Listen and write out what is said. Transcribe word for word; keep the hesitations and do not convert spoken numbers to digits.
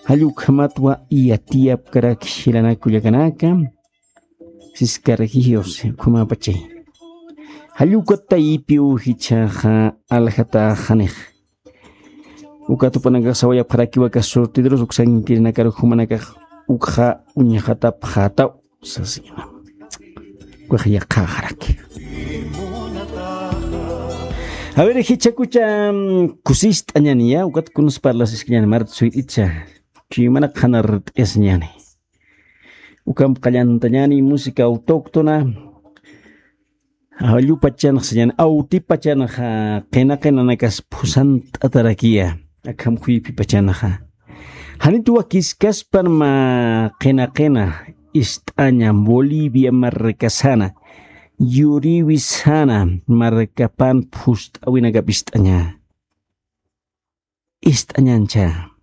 Jallukjamatwa yatiyapkaraki jilanaka kullakanaka. Siskarakijios ukhamapachay. Jallukataypiw jichhaxa aljataxanix. Uka tupanakax sawayapxarakiwa aka surtidorus uksankirinakaru jumanakax ukxa uñjatapxätaw sasina. Ukax yaqhaxaraki. A ver, jichhakucha kusist'añaniya ukat kunas parlasiskañani marta suyt'itcha. Chuymanak qhanart'isñani. Ukamp qallantañani música autóctona. Awllupachanxa sañani awtipachanxa qina qinanakas phusant'atarakiya. Akham juypipachanxa janit wakiskaspan mä qina qina ist'aña bolivia markasana yuriwisana markapan phust'awinakap ist'aña. Ist'añancha.